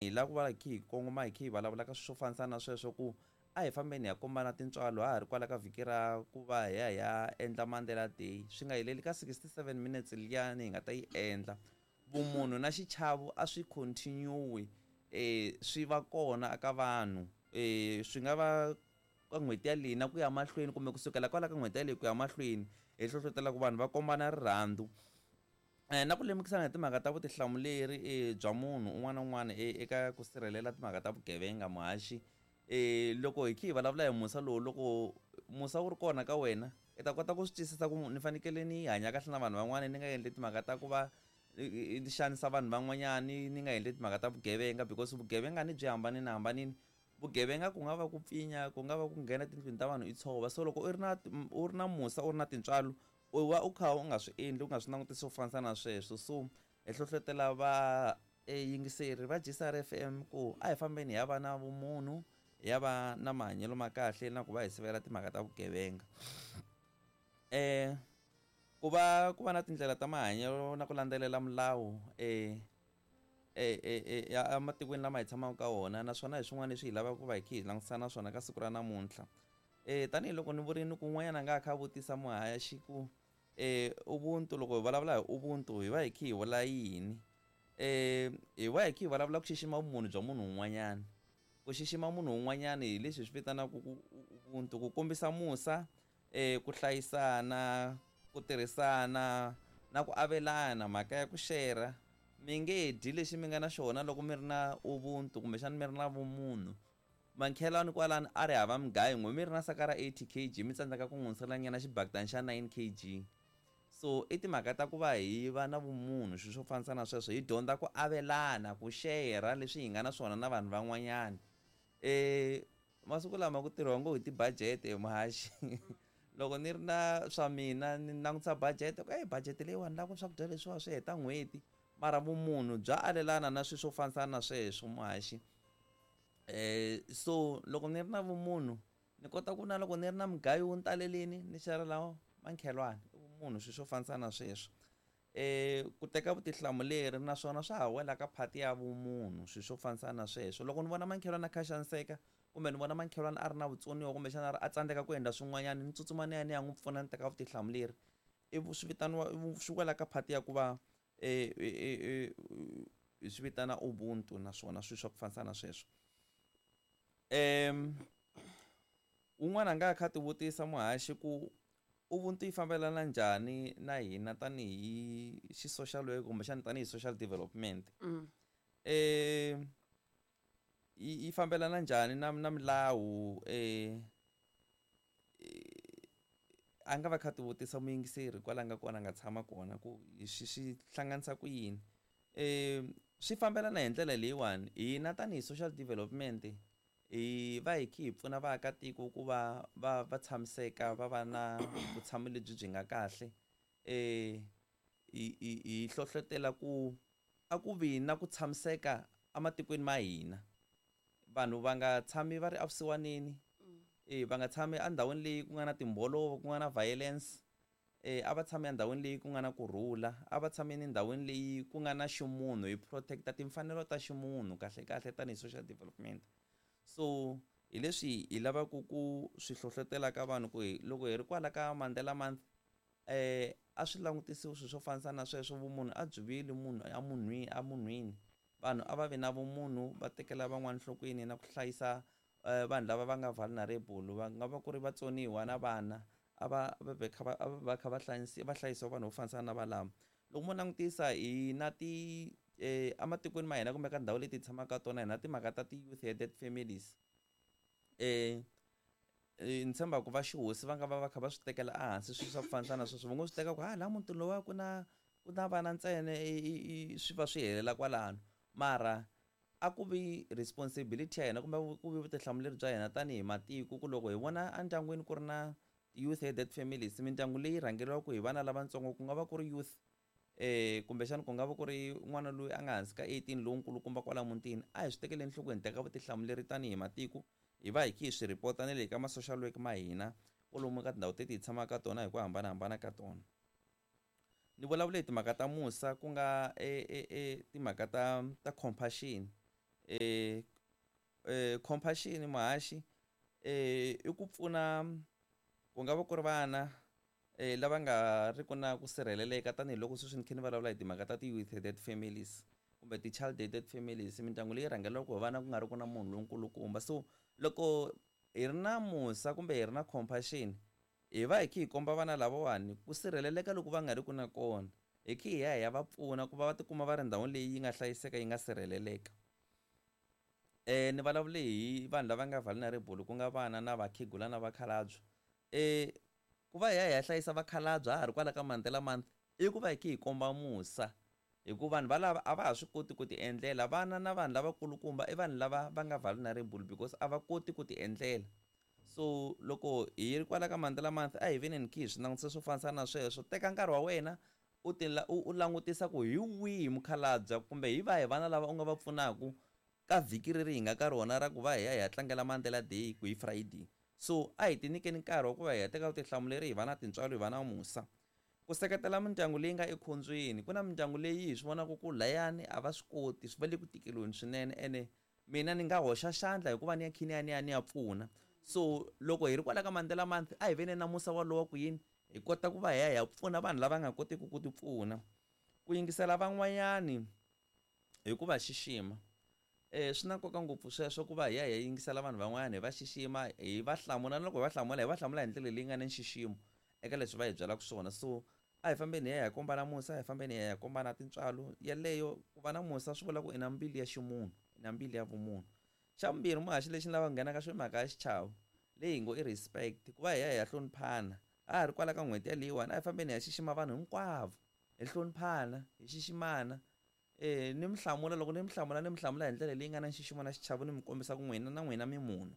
Hi lava ku va hi kha hi kongoma hi kha hi vulavula ka swilo swo fambisana na sweswo ku a hi fambeni hi ya kombana tintswalo ha ha ri kwala ka vhiki ra ku va hi ya hi ya endla Mandela Day swi nga heleli ka 67 minutes liyani hi nga ta yi endla vumunhu na xichavo a swi continue swi va kona eka vanhu swi nga va ka n'hweti yaleyi na ku ya mahlweni kumbe kusukela kwala ka n'hweti yaleyi ku ya mahlweni hi hlohlotela ku vanhu va kombana rirhandzu. Na ku lemukisana hi timhaka ta vutihlamuleri bya munhu un'wana na un'wana eka ku sirhelela timhaka ta vugevenga muhaxi loko hi kha hi vulavula hi musa lowu loko musa wu ri kona ka wena i ta kota ku swi twisisa ku ni fanekele ni hanya kahle na vanhu van'wana ni nga endli timhaka ta ku va ni xanisa vanhu van'wanyani ni nga endli timhaka ta vugevenga because vugevenga ni byi hambanile hambanile vugevenga ku nga va ku pfinya ku nga va ku nghena tindlwini ta vanhu i tshova so loko u ri na u ri na musa u ri na tintswalo u va u kha u nga swi endli u nga swi langutisi swo fanisa na sweswo so hi hlohlotela va yingiseri va G_C_R F_M ku a hi fambeni hi ya va na vumunhu hi ya va na mahanyelo ma kahle na ku va hi sivela timhaka ta vugevenga ku va ku va na tindlela ta mahanyelo na ku landzelela milawu ematikweni lama hi tshamaka ka wona naswona hi swin'wana leswi hi lavaka ku va hi kha hi langutisa na swona ka siku ra namuntlha. Tanihiloko ni vurini ku un'wanyana a nga ha kha a vutisa muhaxi ku ubuntu loko hi vulavula hi ubuntu hi va hi kha hi vula yini hi va hi kha hi vulavula ku xixima vumunhu bya munhu un'wanyana ku xixima munhu un'wanyana hi leswi hi swi vitanaka ku ubuntu ku kombisa musa ku hlayisana ku tirhisana na ku avelana mhaka ya ku shera mi nge dyi lexi mi nga na xona loko mi ri na ubuntu kumbexana mi ri na vumunhu. Mankhelwani kwalano a ri hava mugayo n'we mi ri na saka ra 80 kg mi tsandzeka ku n'wi hundzisela nyana xibakitani xa 9 kg. So i timhaka ta ku va hi va na vumunhu swilo swo fanisa na sweswo hi dyondza ku avelana ku share leswi hi nga na swona na vanhu van'wanyana. Masiku lama ku tirhiwa ngopfu hi ti-budget muhaxi loko ni ri na swa mina ni langutisa budget ku budget leyiwani ni lava ku swakudya leswiwa swi heta n'hweti mara vumunhu bya alelana na swilo swo fanisa na sweswo muhaxi. So loko ni ri na vumunhu ni kota ku na loko ni ri na mugayo wu ni talelini ni xerhela makhelwani i vumunhu swilo swo fanisa na sweswo ku teka vutihlamuleri naswona swa ha wela ka part ya vumunhu swilo swo fanisa na sweswo loko ni vona makhelwani a kha a xaniseka kumbe ni vona makhelwani a ri na vutsoniwa kumbexana a tsandzeka ku endla swin'wanyana ni tsutsuma ni ya ni ya n'wi pfuna ni teka vutihlamuleri i swi vitaniwa swi wela ka part ya ku va hi swi vitana ubuntu naswona swilo swa ku fanisa na sweswo un'wana a nga kha a ti vutisa muhaxi ku ubuntu yi fambelana njhani na hina tanihi xi social work kumbexana tanihi social development yi fambelana njhani na na milawu a nga va kha ti vutisa muyingiseri kwala nga kona a nga tshama kona ku swi swi hlanganisa ku yini swi fambelana hi ndlela leyiwani hina tanihi social development hi va hi kha hi pfuna vaakatiko ku va va va tshamiseka va va na vutshamo lebyi byi nga kahle hi hi hi hlohlotela ku a ku vi na ku tshamiseka ematikweni ma hina vanhu va nga tshami va ri evusiwaneni va nga tshami endhawini leyi ku nga na timbolovo ku nga na violence a va tshami endhawini leyi ku nga na kurhula a va tshameni endhawini leyi ku nga na ximunhu hi protect-a timfanelo ta ximunhu kahle kahle tanihi social development so hi leswi hi lavaka ku swi hlohlotela ka vanhu ku hi loko hi ri kwala ka Mandela month a swi langutisiwi swilo swo fanisa na sweswo vumunhu a byi vuyeli munhu emunhwini emunhwini vanhu a va vi na vumunhu va tekela van'wana enhlokweni na ku hlayisa vanhu lava va nga vulnerable va nga va ku ri vatsoniwa na vana a va va kha va va kha va hlayisiwa va hlayisiwa vanhu vo fanisa na valava loko mo langutisa hi na ti ematikweni ma hina kumbe ka ndhawu leti hi tshamaka ka tona hi na timhaka ta ti-youth headed families ni tshemba ku va xihosi va nga va va kha va swi tekela ehansi swilo swa ku fanisa na sweswo va ngo swi teka ku ha laha mutini lowuya ku na ku na vana ntsena swi va swi helela kwalano mara a ku vi responsibility ya hina kumbe ku vi vutihlamuleri bya hina tanihi matiko ku loko hi vona endyangwini ku ri na youth headed families mindyangu leyi rhangeriwaka hi vana lavatsongo ku nga va ku ri youth kumbexana ku nga va ku ri n'wana loyi a nga hansi ka 18 lowu nkulukumba kwala mutini a hi swi tekeli enhlokweni teka vutihlamuleri tanihi matiko hi va hi kha hi swi report-a na le ka ma-social work ma hina kwalomu ka tindhawu teti hi tshamaka ka tona hi ku hambanahambana ka tona ni vulavule hi timhaka ta musa ku nga timhaka ta ta compassion. Compassion muhaxi i ku pfuna ku nga va ku ri vana lava nga ri ku na ku sirheleleka, tanihiloko sweswi ni kha ni vulavula hi timhaka ta ti-youth headed families kumbe ti-child headed families, mindyangu leyi rhangeriwaka hi vana ku nga ri ku na munhu lonkulukumba. So loko hi ri na musa kumbe hi ri na compassion, hi va hi kha hi komba vana lavawani ku sirheleleka loko va nga ri ku na kona, hi kha hi ya hi ya va pfuna ku va va tikuma va ri ndhawini leyi yi nga hlayiseka, yi nga sirheleleka. Ni vulavule hi vanhu lava nga vulnerable, ku nga vana na vakhegula na vakhalabya. Ku va hi ya hi ya hlayisa vakhalabya ha ha ri kwala ka Mandela Month i ku va hi kha hi komba musa, hikuva vanhu valava a va ha swi koti ku ti endlela. Vana na vanhu lavakulukumba i vanhu lava va nga vulnerable because a va koti ku ti endlela. So loko hi ri kwala ka Mandela Month a hi veneni kha hi swi langutisa swo fanisa na sweswo. Teka nkarhi wa wena u ti u langutisa ku hi wihi mukhalabya kumbe hi vahi vana lava u nga va pfunaka ka vhiki leri hi nga ka rona ra ku va hi ya hi ya tlangela Mandela Day ku hi Friday. So a hi ti nyikeni nkarhi wa ku va hi ya teka vutihlamuleri, hi va na tintswalo, hi va na musa. Ku seketela mindyangu leyi nga ekhombyeni, ku na mindyangu leyi hi swi vonaka ku layani a va swi koti, swi va le ku tikeriweni swinene, ene mina ni nga hoxa xandla hikuva ni ya kha ni ya ni ya ni ya pfuna. So loko hi ri kwala ka Mandela Month a hi veni na musa walowo ku yini hi kota ku va hi ya hi ya pfuna vanhu lava nga kotiki ku ti pfuna. Ku yingisela van'wanyani hi ku va xixima, swi na nkoka ngopfu sweswo ku va hi ya hi ya yingisela vanhu van'wanyana, hi va xixima, hi va hlamula, na loko hi va hlamula hi va hlamula hi ndlela leyi nga na nxiximo eka leswi va hi byelaka swona. So a hi fambeni hi ya hi ya kombana musa, a hi fambeni hi ya hi ya kombana tintswalo. Yeleyo ku va na musa swi vula ku i na mbilu ya ximunhu, i na mbilu ya vumunhu. Xa vumbirhi muhaxi lexi ni lavaka ku nghena ka xona i mhaka ya xichavo leyi hi ngo i respect, ku va hi ya hi ya hloniphana. A ha ri kwala ka n'hweti yaleyiwani a hi fambeni hi ya xixima vanhu hinkwavo, hi hloniphana, hi xiximana. Ni mi hlamula, loko ni mi hlamula ni mi hlamula hi ndlela leyi nga na nxiximo na xichavo, ni mi kombisa ku n'wina na n'wina mi munhu.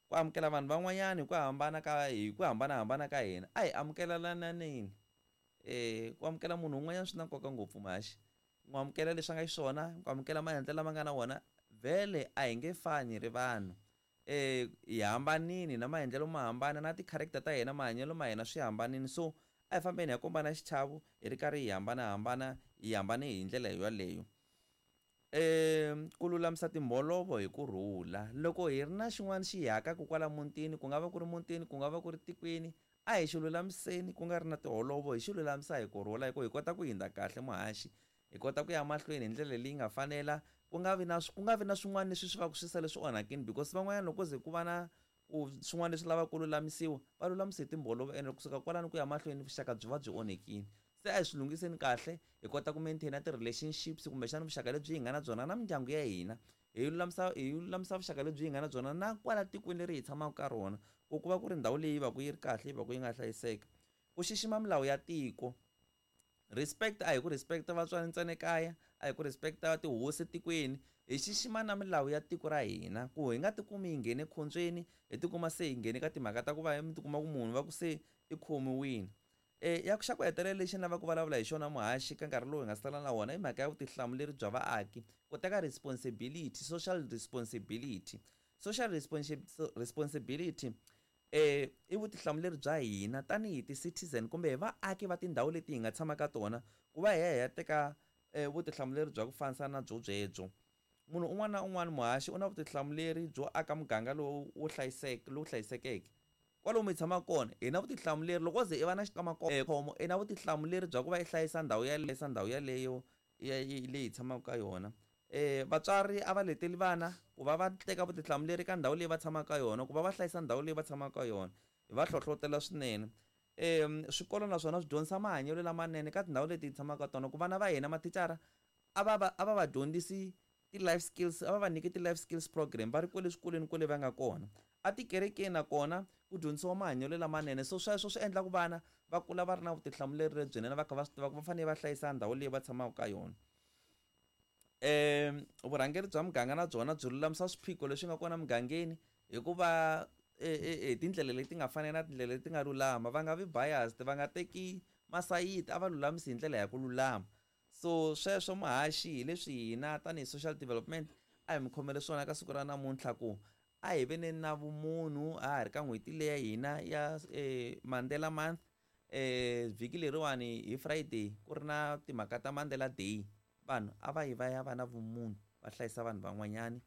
Ku amukela vanhu van'wanyana hi ku hambana ka hi ku hambanahambana ka hina, a hi amukelelananeni. Ku amukela munhu un'wanyana swi na nkoka ngopfu muhaxi, n'wi amukela leswi a nga xiswona, ku amukela maendlelo lama nga na wona. Vhele a hi nge fani ri vanhu, hi hambanini na maendlelo ma hambana, na ti-character ta hina, mahanyelo ma hina swi hambanini. So a hi fambeni hi ya kombana xichavo hi ri karhi hi hambanahambana, hi hambane hi ndlela yoleyo. Ku lulamisa timholovo hi kurhula, loko hi ri na xin'wana xi hi hakaka kwala mutini, ku nga va ku ri mutini, ku nga va ku ri tikweni, a hi xi lulamiseni ku nga ri na tiholovo, hi xi lulamisa hi kurhula, hi ku hi kota ku hundza kahle muhaxi, hi kota ku ya mahlweni hi ndlela leyi nga fanela, ku nga vi na ku nga vi na swin'wana leswi swi va ku swi sale swi onhakini, because van'wanyana loko ze ku va na ku swin'wana leswi lavaka ku lulamisiwa va lulamisa hi timbholovo, ene kusuka kwalano ku ya mahlweni vuxaka byi va byi onhekile. Se a hi swi lunghiseni kahle, hi kota ku maintain ti-relationships kumbexana vuxaka lebyi hi nga na byona na mindyangu ya hina, hi lulamisa vuxaka lebyi hi nga na byona na kwala tikweni leri hi tshamaka ka rona, ku ku va ku ri ndhawu leyi va ku yi ri kahle, yi va ku yi nga hlayiseka. Ku xixima milawu ya tiko, respect a hi ku respect vatswari ntsena ekaya, a hi ku respect tihosi etikweni, hi xixima na milawu ya tiko ra hina, ku hi nga tikumi hi nghene ekhombyeni, hi tikuma se hi nghene ka timhaka ta ku va mi tikuma ku munhu va ku se i khomiwile. Ya xa ku hetelela lexi ni lavaka ku vulavula hi xona muhaxi ka nkarhi lowu hi nga sala na wona i mhaka ya vutihlamuleri bya vaaki, ku teka responsibility, social responsibility. Social responsibility i vutihlamuleri bya hina tanihi ti-citizen kumbe hi vaaki va tindhawu leti hi nga tshama ka tona, ku va hi ya hi ya teka vutihlamuleri bya ku fanisa na byo byebyo. Munhu un'wana na un'wana muhaxi u na vutihlamuleri byo aka muganga lowu wo hlayiseka, lowu hlayisekeke. Kwalomu hi tshamaka kona hi na vutihlamuleri, loko ze i va na xikamakhombo i na vutihlamuleri bya ku va i hlayisa ndhawu ya hlayisa ndhawu yaleyo leyi hi tshamaka ka yona. Vatswari a va leteli vana ku va va teka vutihlamuleri ka ndhawu leyi va tshamaka ka yona, ku va va hlayisa ndhawu leyi va tshamaka ka yona, hi va hlohlotela swinene. Swikolo naswona swi dyondzisa mahanyelo lamanene ka tindhawu leti hi tshamaka ka tona, ku vana va hina mathicara a va va a va va dyondzisi ti-life skills, a va va nyiki ti-life skills program va ri kwale swikolweni kwale va nga kona. Atikerekeni nakona ku dyondzisiwa mahanyelo lamanene, so sweswo swi endla ku vana va kula va ri na vutihlamuleri lebyinene, va kha va swi tiva ku va fanele va hlayisa ndhawu leyi va tshamaka ka yona. Vurhangeri bya muganga na byona byi lulamisa swiphiqo leswi nga kona mugangeni hikuva hi tindlela leti nga fanela na tindlela leti nga lulama, va nga vi biased, va nga teki masayiti, a va lulamisi hi ndlela ya ku lulama. So sweswo muhaxi hi leswi hina tanihi social development a hi mi khomele swona ka siku ra namuntlha, ku a hi veneni na vumunhu ha ha ri ka n'hweti leya hina ya Mandela Month. Vhiki leriwani hi Friday ku ri na timhaka ta Mandela Day, vanhu a va yi va ya va na vumunhu. Va hlayisa vanhu van'wanyani.